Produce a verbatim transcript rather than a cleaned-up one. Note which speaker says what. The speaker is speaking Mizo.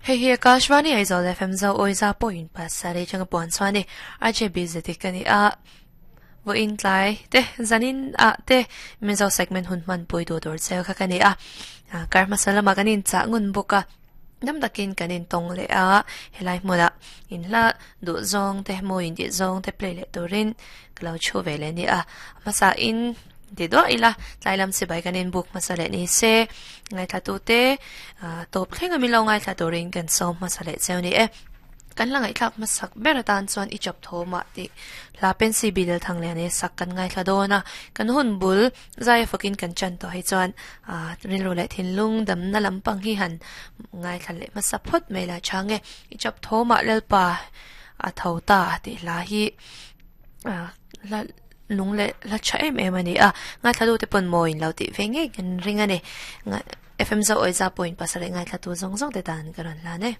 Speaker 1: Hei hi Akashvani Aizawl F M zo oiza point pasarih changa puan chuan ni R J B zeti ka ni a vo in tlai te zanin a te mizo segment hun man pui du tur cheu kha ka ni a kar masala ma kanin cha ngun buka nam takin kanin tong le a helai hmuna in la du zong te mo in di zong te play le turin klo chu ve le ni a masa in ti do ila tlailam si bai kanin book masale ni se ngai thla tu te top thleng ami lo ngai thla turin kan som masale cheu ni e kan la ngai thlak masak ber tan chuan i chop tho ma ti la pen si bidel thang le ne sak kan ngai thla do na kan hun bul zai fakin kan chan to hei chuan a rin ro le thin lung dam na lampang hi han ngai thla le masa phot mai la change i chop tho ma lalpa a tho ta ti la hi a la lung le la cha em em ani a ngai thla du te pon moin lo ti ve nge kan ring ani F M zo oiza point pasare ngai thla tu zong zong te tan karan la ne.